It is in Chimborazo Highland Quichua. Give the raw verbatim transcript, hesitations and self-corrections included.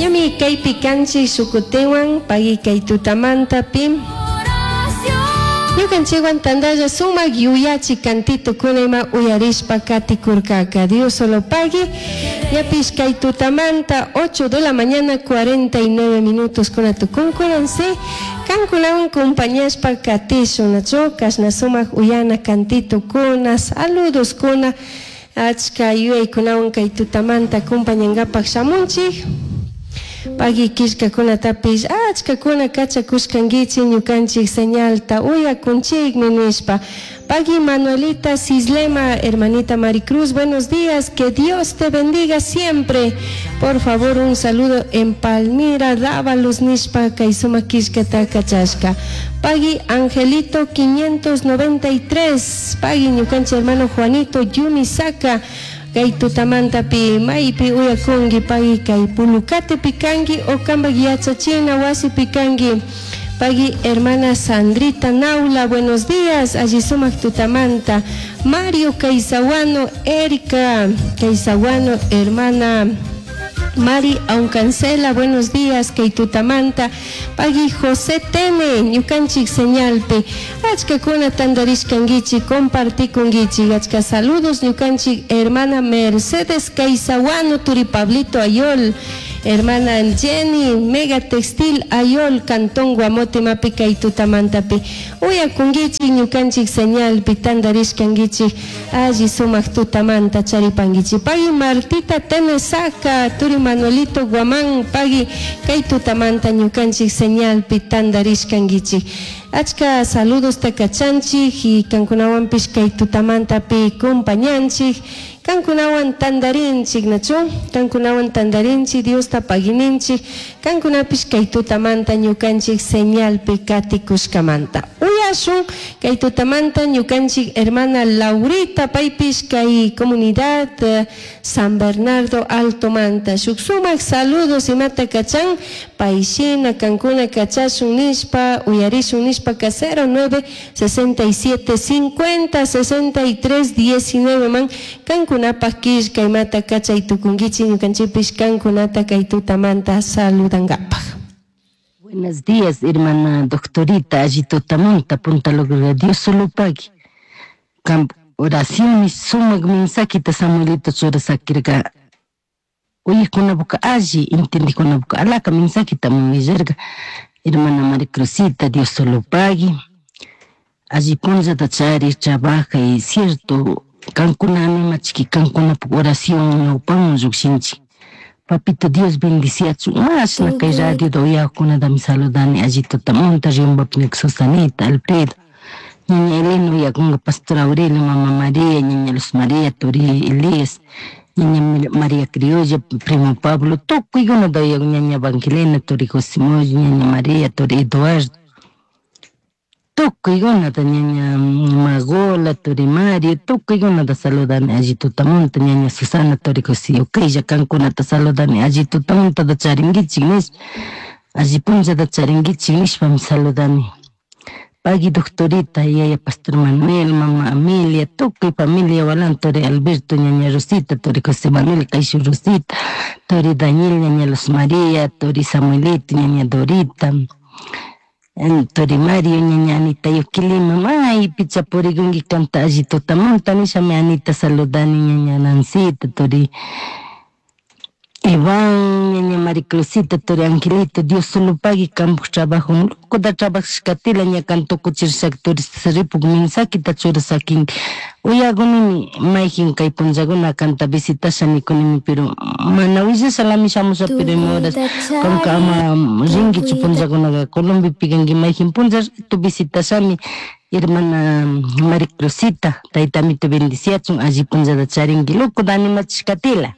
Ñami kaypi kanchik shukutinwan pagui kay tutamanta pi Ñukanchikwan tantalla sumak yuyachi cantito kuna uyarishpa katikurkaka. Dios solo pagui. Ñapish kay tutamanta ocho de la mañana cuarenta y nueve minutos kuna tukunkunansi. Kankunawan compañashpa katishun, nachu? Kashna sumak uyana cantito kuna, saludos kuna, achka yuyaykunawan kay tutamanta compañangapak shamunchik. Pagui killkakunatapish achkakuna kachakushkankichik ñukanchik señalta uyakunchikmi nishpa. Pagui Manuelita Cislema, hermanita Maricruz, buenos días, que Dios te bendiga siempre. Por favor, un saludo en Palmira, Dávalos nishpa kay sumak killkata kachashka. Pagui Angelito quinientos noventa y tres, pagui ñukanchik hermano Juanito Yumisaka, kay tutamantapi maypi uyakunki, pagui kay Pulucatepi kanki o kambak yachachina wasipi kanki. Pagui hermana Sandrita Naula, buenos días, alli sumak tutamanta. Mario Caizahuano, Erika Caizahuano, hermana Mari Auncancela, buenos días, kay tutamanta. Pagui José Tene, ñukanchik señalpi. Achkakuna tandarishkankichik, compartikunkichik. Achka saludos, ñukanchik hermana Mercedes Caizahuano, Turi Pablito Ayol. Hermana Jenny, Mega Textil Ayol, Cantón Guamote mapi kay tutamantapi. Uyakunkichik ñukanchik señalpi tandarishkankichik, alli sumak tutamanta charipankichik. Pagui Martita Tenesaka, Turi Manuelito Guamán, pagui kay tutamanta ñukanchik señalpi tandarishkankichik. Achka saludos takachanchik y kankunawanpish kay tutamantapi compañanchik. Kankunawan tandarinchik, nachu? Kankunawan tandarinchik, Diosta pagininchik, kankunapish kay tutamanta ñukanchik señalpi katikushkamanta. Uyashun kay tutamanta ñukanchik hermana Laurita, paypish kay comunidad eh, San Bernardo Alto manta. Shuk sumak saludos imata kachan, payshina kankuna kachashun nishpa, uyarishun nishpa ka cero nueve sesenta y siete cincuenta sesenta y tres diecinueve man kankunapak killka imata kachay tukunkichik ñukanchikpish kankunata kay tutamanta saludangapak. Buenos días, hermana doctorita, alli tutamanta, punta logro Dios solo pagui. Camp oración sumak mensajita Samuelito churasakirka. Uyikunapuka alli, entendikunapuka alaka mensajita willarka. Hermana María Cruzita, Dios solo pagui. Alli punllata chari, trabaja y cierto, kankuna animachiki, kankunapak oración ñawpaman llukshinchik. Papito Dios bendiciachu. Mashna kay radio da uyakunatami saludani alli tutamunta Riobambapi Susanita, Alfredo. Ñaña Elena uyakunga, Pastor Aurelio, Mama María, Ñaña Luz María, Turi Elías, Ñaña María Criolla, Primo Pablo, tukuykunata uyakun, Ñaña Evangelina, Turi José Moyo, Ñaña María, Turi Eduardo. Tukuykunata Ñaña Magola, Turi Mario, tukuykunata saludani alli tutamunta, Ñaña Susana, Turi José Ukaylla, kankunata saludani alli tutamunta charinkichik nish, alli punllata charinkichik nishpami saludani. Pagui doctorita, yaya Pastor Manuel, Mama Amelia, tukuy familia Walan, Turi Alberto, Ñaña Rosita, Turi José Manuel, Kaishu Rosita, Turi Daniel, Ñaña Luz María, Turi Samuelito, Ñaña Dorita, Turi Mario, Ñaña Anita Yukilima, maypi chapurikunki kanta alli tutamunta nishami Anita saludani, Ñaña Nancita, Turi Iván, Ñaña Maricruzita, Turi Angelito, Dios solo pagui kampak trabajo, locoda trabajashkatila ña kan tukuchirishaka turista ripuk mensajita churasakin uyakunimi mayjin kay punllakuna kanta visitasha nikunimi, pero mana willashalami shamusha, pero ima horas kanka ama rinkichu punllakunaka Colombiapi kanki mayjin punlla rato visitashami. Hermana Maricruzita, taytamito bendiciachun, alli punllata charinki, locoda animachishkatila.